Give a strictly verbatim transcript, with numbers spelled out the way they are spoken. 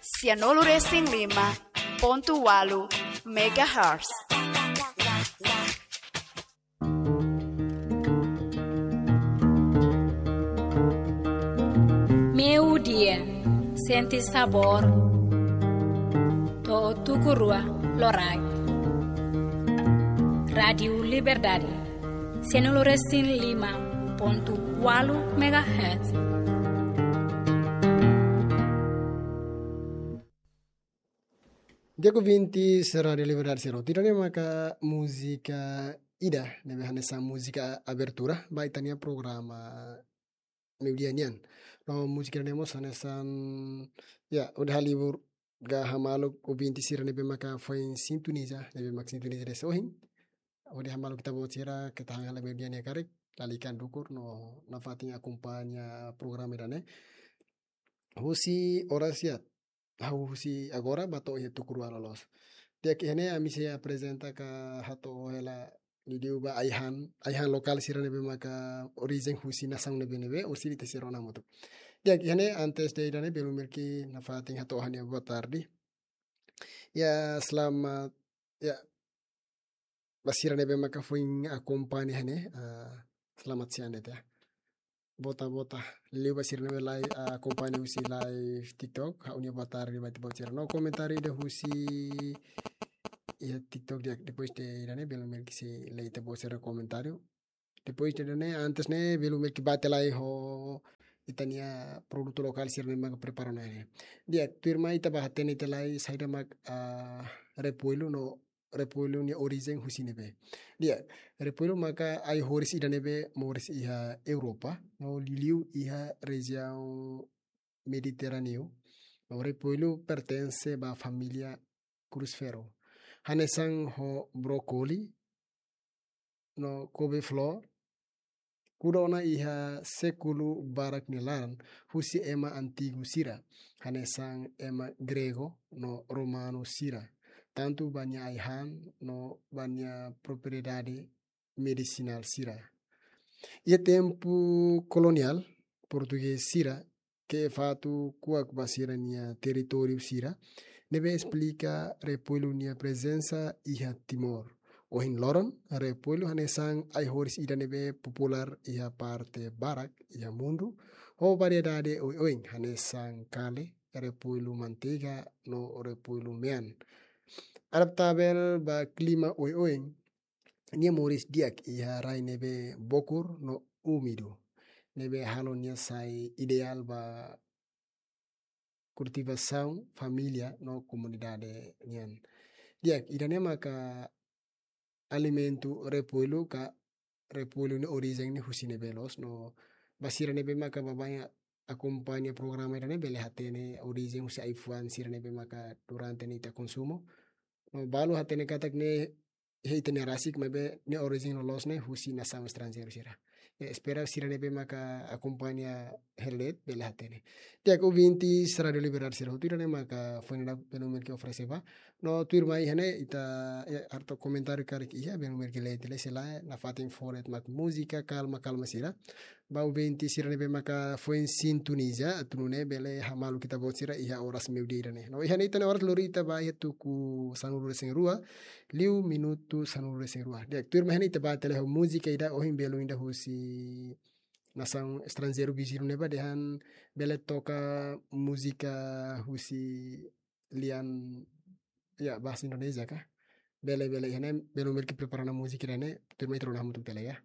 Sianulu resin lima pontu walu megahertz. Meio-dia, sente sabor. To'o tuku rua loraik. Rádiu Liberdade, sianulu resin lima pontu walu megahertz. Di'ak, ouvintes Rádiu Liberdade sira, ida-ne'e maka múzika ida ne'ebé hanesan múzika abertura ba ita-nia programa meio-dia nian. No múzika ne'e mós hanesan, ya, hodi halibur ka hamaluk ouvinte sira ne'ebé maka foin sintoniza, ne'ebé maka sintoniza de'it ohin. Hodi hamaluk ita-boot sira, keta han hela meio-dia nia karik, lalika dukur no nafatin akompaña programa ida-ne'e husi oras, ya, hahú husi agora ba to'o iha tuku rua loloos. Di'ak, iha ne'e ami sei aprezenta ka hato'o hela liuliu ba ai-han, ai-han lokál sira ne'ebé maka orijen husi nasaun ne'ebé-ne'ebé, orsida ita sei rona hamutuk. Di'ak, iha ne'e antes de ida-ne'e belun merki nafatin hato'o ha'u-nia boa tarde. Ya, selamat, ya, ba sira ne'ebé maka foin akompaña iha ne'e, ah, selamat siang de'it, ya. Bota, bota. Liuliu ba sira ne'ebé lai, ah, akompaña husi live TikTok, ha'u-nia boa tarde ba ita-boot sira. No komentáriu ida husi iha TikTok di'ak, depois de ida-ne'e belun merki sei lee ita-boot sira komentáriu. Depois de ida-ne'e, antes ne'e, belun merki bá tiha lai ho ita-nia produtu lokál sira ne'ebé maka prepara ona ne'e. Di'ak, tuirmai ita bá hatene tiha lai saida mak, ah, repoilu no repoilu nia orijen husi ne'ebé. Di'ak, repoilu maka ai-horis ida ne'ebé moris iha Europa, no liuliu iha rejiaun Mediterráneu. No repoilu pertense ba família Crucifero. Hanesan ho brókoli no couve-flor, kuda ona iha sékulu barak nia laran husi ema antigu sira, hanesan ema gregu no romanu sira, tantu ba nia ai-han no ba nia propriedade medisinál sira. Iha tempu koloniál, portugés sira ke'e fatuk kuak ba sira-nia territóriu sira, ne'ebé esplika repoilu nia prezensa iha Timor. Ohin loron, repoilu hanesan ai-horis ida ne'ebé populár iha parte barak iha mundu, ho variedade oioin, hanesan kale, repoilu manteiga, no repoilu mean. Adaptavel ba klima oioin, nia moris di'ak iha rai ne'ebé bokur no úmidu, ne'ebé halo nia sai ideál ba kultivasaun família no komunidade nian. Di'ak, ida-ne'e maka alimentu repoilu ka repoilu nia orijen ne'e husi ne'ebé loos, no ba sira ne'ebé maka baibain akompaña programa ida-ne'e bele hatene orijen husi ai-fuan sira ne'ebé maka durante ne'e ita konsumu. No balu hatene katak ne'e iha ita-nia rasik, maibé nia orijen loloos ne'e husi nasaun estranjeiru sira. Ya, espera sira ne'ebé maka akompaña hela de'it bele hatene. Di'ak, ouvintes Rádiu Liberdade sira hotu, ida-ne'e maka foin dadauk belun merki oferese ba. No tuirmai iha ne'e ita, ya, haree komentáriu karik iha, belun merki lee tiha lai, sei la, nafatin fó de'it mak múzika kalma-kalma sira. Ba ouvinte sira ne'ebé maka foin sintoniza, atu nune'e bele hamaluk ita-boot sira iha oras meio-dia ida-ne'e. No iha ne'e ita-nia oras lori ita ba iha tuku sanulu resin rua, liu minutu sanulu resin rua. Di'ak, tuirmai iha ne'e ita bá tiha lai ho múzika ida, ohin belun ida husi nasaun estranjeiru viziñu ne'ebá dehan bele toka múzika husi lian, ya, bahasa Indonesia ka. Bele, bele, iha ne'e belun merki prepara ona múzika ida-ne'e, tuirmai ita rona hamutuk tiha lai, ya.